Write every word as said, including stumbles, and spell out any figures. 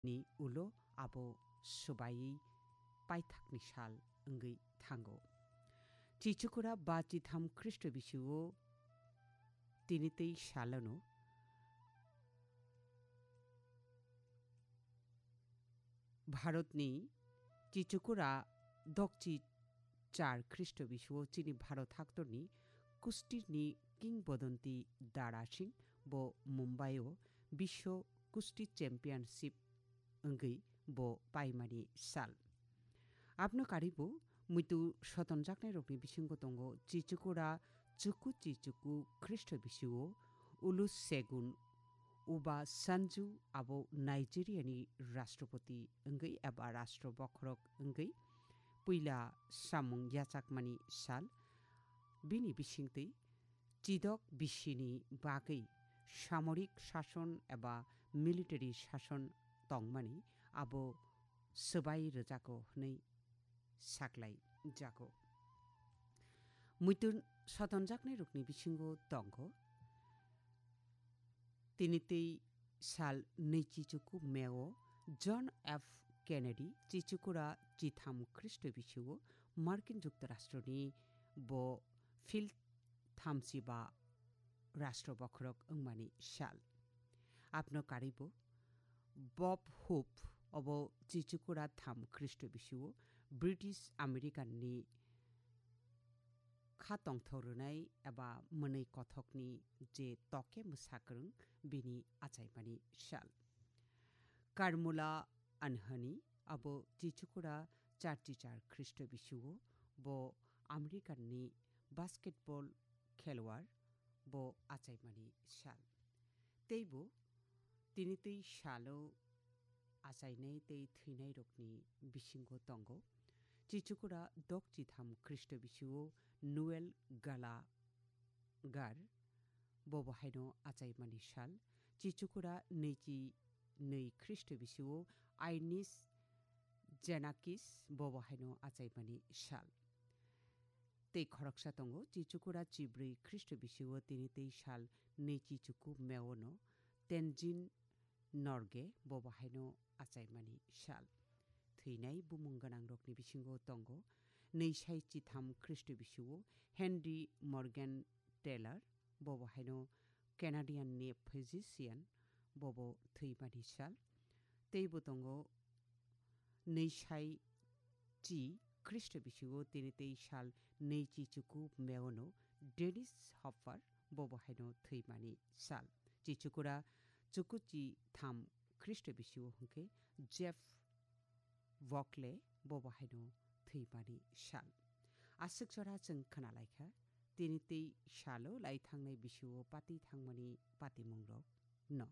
ni ulo abo swbaiwi paithakni sal wngwi thango. Chichukura ba chitham Khristo bisio tini tei salono Bharatni Chichukura dokchi char Khristo bisio chini Bharat haktorni kustirni kingbodanti Dara Singh bo Mumbai o Biswo Kusti Championship wngwi bo paimani sal. Abno karibo muitu sotonjaknairokni bisingo tongo Chichukura chuku chichuku Khristo bisio Olusegun Obasanjo abo Nigeriani Rashtrapati wngwi eba Rashtra bokhorok wngwi puila samung yachakmani sal. Bini bisingtwi chidok bisini bagwi samorik sason eba military sason tongmani abo swbai rwjago hwnwi saklai jago. Muitu sotonjaknairokni bisingo tongo. Tini tei sal nui chichuku May o John F Kennedy Chichukura chitham Khristo bisio Markin Juktarashtroni bo field thamsiba Rashtra bokhorok wngmani sal. Abno karibo Bob Hope obo Chichukura tham Khristo bisio British American ni kha tongthok rwnai eba mwnwi kothokni je toke mwsakwrwng bini achaimani sal. Karmula Anhani abo Chichukura charchi char Khristo bisio bo American ni basketball khelwar bo achaimani sal. Teibo tini tei salo achainai tei thwinairokni bisingo tongo. Chichukura dok chitham Khristo bisio Noel Gallagher bobo haino achaimani sal. Chichukura nui chi nui Khristo bisio Ines Xenakis bobo haino achaimani sal. Tei khoroksa tongo, Chichukura chibrwi Khristo bisio tini tei sal nui chichuku May o no Tenzin Norgay bobo haino achaimani sal. Thwinai bumung gwnangrokni bisingo tongo, nui sai chitham Khristo bisio Henry Morgan Taylor bobo haino Canadian ni physician bobo thwimani sal. Teibo tongo nui sai chi Khristo bisio tini tei sal nui chichuku May o no Dennis Hopper bobo haino thwimani sal. Chichukura chuku chitham Khristo bisio hwnkhe Jeff Buckley bobo haino thwimani sal. Aswk jora chwng khna laikha, tini tei salo lai thangnai bisio pati thangmani patimungrok no.